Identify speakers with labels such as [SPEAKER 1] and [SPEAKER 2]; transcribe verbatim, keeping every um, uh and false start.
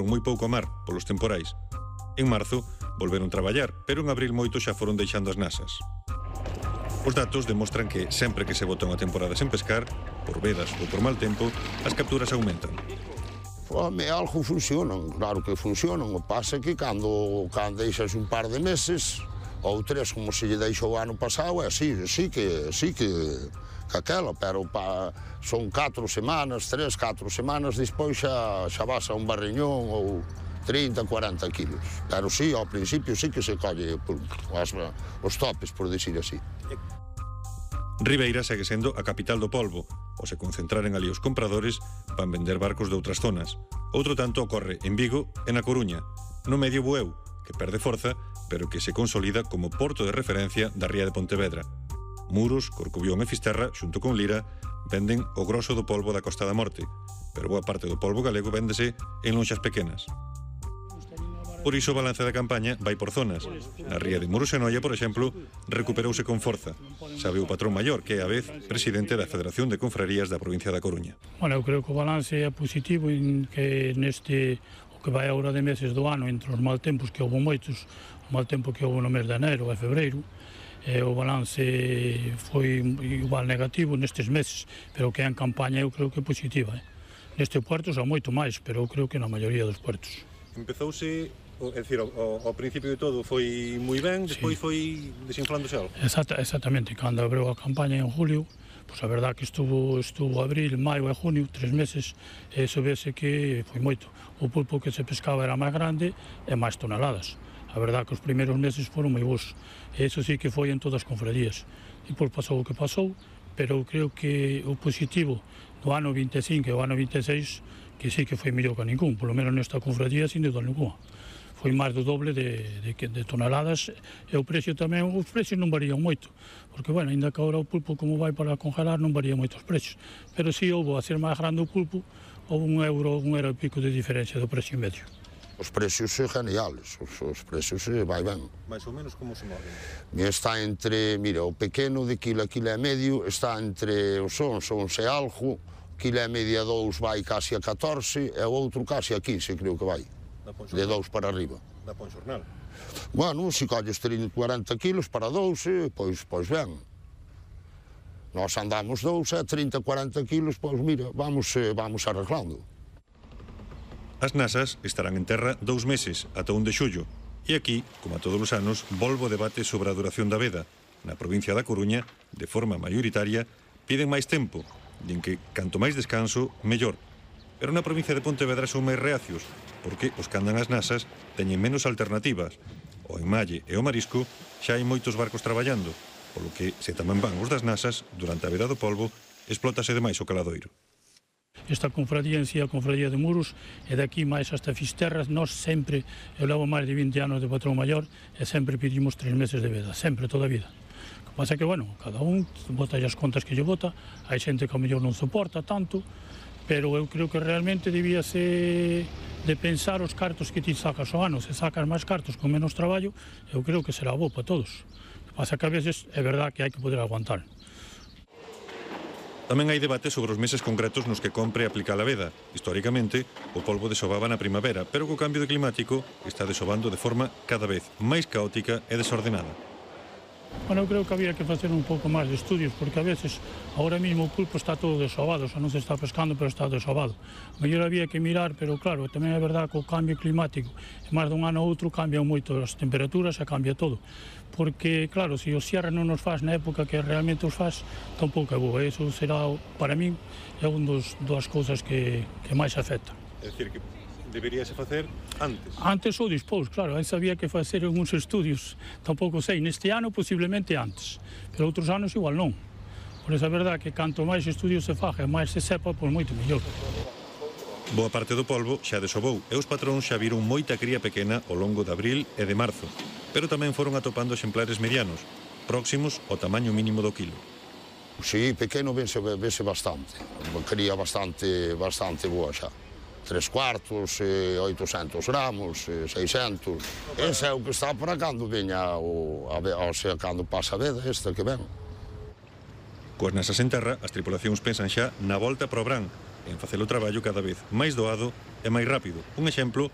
[SPEAKER 1] moi pouco a mar polos temporais. En marzo volveron traballar, pero en abril moito xa foron deixando as nasas. Os datos demostran que sempre que se bota unha temporada sen pescar, por vedas ou por mal tempo, as capturas aumentan.
[SPEAKER 2] Home, algo funcionan, claro que funcionan. O pasa que cando, cando deixas un par de meses, ou tres, como se lle deixou o ano pasado, é así, sí que, sí que, que aquela, pero pa, son catro semanas, tres, catro semanas, despois xa, xa vas a un barriñón ou trinta, cuarenta kilos. Pero sí, ao principio sí que se colle as, os topes, por decir así.
[SPEAKER 1] Ribeira segue sendo a capital do polvo. Ao se concentraren ali os compradores, van vender barcos de outras zonas. Outro tanto ocorre en Vigo e na Coruña, no medio Bueu, que perde forza, pero que se consolida como porto de referencia da ría de Pontevedra. Muros, Corcubión e Fisterra, xunto con Lira, venden o groso do polvo da Costa da Morte, pero boa parte do polvo galego véndese en lonxas pequenas. Por iso o balance da campaña vai por zonas. Na ría de Muros e Noia, por exemplo, recuperouse con forza. Sabe o patrón maior, que é a vez presidente da Federación de Confrarías da provincia da Coruña.
[SPEAKER 3] Bueno, eu creo que o balance é positivo en que neste o que vai agora de meses do ano, entre os mal tempos que houve moitos, o mal tempo que houve no mes de enero e febreiro, e o balance foi igual negativo nestes meses, pero que en campaña eu creo que é positiva. Eh? Neste puerto xa moito máis, pero eu creo que na maioría dos puertos.
[SPEAKER 1] Empezouse, é dicir, ao, ao principio de todo foi moi ben, despois sí. Foi desinflándose algo.
[SPEAKER 3] Exacta, exactamente, cando abriu a campaña en julio, pois a verdad que estuvo, estuvo abril, maio e junio, tres meses, e iso vese que foi moito. O pulpo que se pescaba era máis grande e máis toneladas. A verdad que os primeiros meses foron moi bons. E iso sí que foi en todas as confrarías. E por pasou o que pasou, pero eu creo que o positivo do ano vinte e cinco e o ano vinte e seis que sí que foi mellor que ningún, polo menos nesta confradía sin dúda ninguna. Foi máis do doble de, de, de toneladas e o precio tamén, os precios non varían moito, porque, bueno, ainda que agora o pulpo como vai para congelar non varía moito os precios, pero si houve a ser máis grande o pulpo, houve un euro, un euro e pico de diferencia do precio medio.
[SPEAKER 2] Os precios son geniales, os, os precios vai ben.
[SPEAKER 1] Mais ou menos como se moven?
[SPEAKER 2] Está entre, mira, o pequeno de quilo a quilo e medio está entre os onze, onze e algo, quilo e media dous vai casi a catorce e o outro casi a quince, creo que vai. De dous para arriba.
[SPEAKER 1] Da pon xornal?
[SPEAKER 2] Bueno, se colles trinta, cuarenta kilos para doce, pois, pois ben. Nós andamos dous e trinta, cuarenta kilos, pois mira, vamos, vamos arreglando.
[SPEAKER 1] As nasas estarán en terra dous meses, ata un de xullo. E aquí, como a todos os anos, volvo o debate sobre a duración da veda. Na provincia da Coruña, de forma maioritaria, piden máis tempo. Din que canto máis descanso, mellor. Pero na provincia de Pontevedra son máis reacios, porque os que andan as nasas teñen menos alternativas. O enmalle e o marisco xa hai moitos barcos traballando, polo que, se tamén van os das nasas, durante a veda do polvo, explótase demais o caladoiro.
[SPEAKER 3] Esta confradía en si, a confradía de Muros, e daqui máis hasta Fisterra, nós sempre, eu levo máis de vinte anos de patrón maior, e sempre pedimos tres meses de veda, sempre, toda a vida. O que pasa que, bueno, cada un bota as contas que lle bota, hai xente que a mellor non soporta tanto, pero eu creo que realmente debíase de pensar os cartos que ti sacas ao ano. Se sacas máis cartos con menos traballo, eu creo que será bo para todos. O que pasa que a veces é verdad que hai que poder aguantar.
[SPEAKER 1] Tamén hai debate sobre os meses concretos nos que compre aplicar a veda. Históricamente, o polvo desobaba na primavera, pero co cambio de climático está desobando de forma cada vez máis caótica e desordenada.
[SPEAKER 3] Bueno, eu creo que había que facer un pouco máis de estudios, porque a veces, ahora mismo o pulpo está todo desobado, xa non se está pescando, pero está desobado. Mellor había que mirar, pero claro, tamén é verdad que o cambio climático, e máis dun ano a outro, cambian moito as temperaturas e cambia todo. Porque, claro, se o cierre non nos faz na época que realmente os faz, tampouco é bo. Eso será, para min, é un dos, das cousas que, que máis afecta.
[SPEAKER 1] É dicir, que deberíase facer antes?
[SPEAKER 3] Antes ou dispós, claro, aí sabía que facer algúns estudios, tampouco sei, neste ano posiblemente antes, pero outros anos igual non. Por esa verdad que canto máis estudios se faga e máis se sepa, pois moito mellor.
[SPEAKER 1] Boa parte do polvo xa desobou e os patróns xa viron moita cría pequena ao longo de abril e de marzo, pero tamén foron atopando exemplares medianos, próximos ao tamaño mínimo do quilo.
[SPEAKER 2] Si, pequeno vese, vese bastante, cría bastante, bastante boa xa. Tres cuartos, oitocentos gramos, seiscentos. Ese é o que está para cando veña, o, a, o sea, cando pasa a veda esta que ven.
[SPEAKER 1] Coas nasas en terra, as tripulacións pensan xa na volta para o Bran, en facer o traballo cada vez máis doado e máis rápido. Un exemplo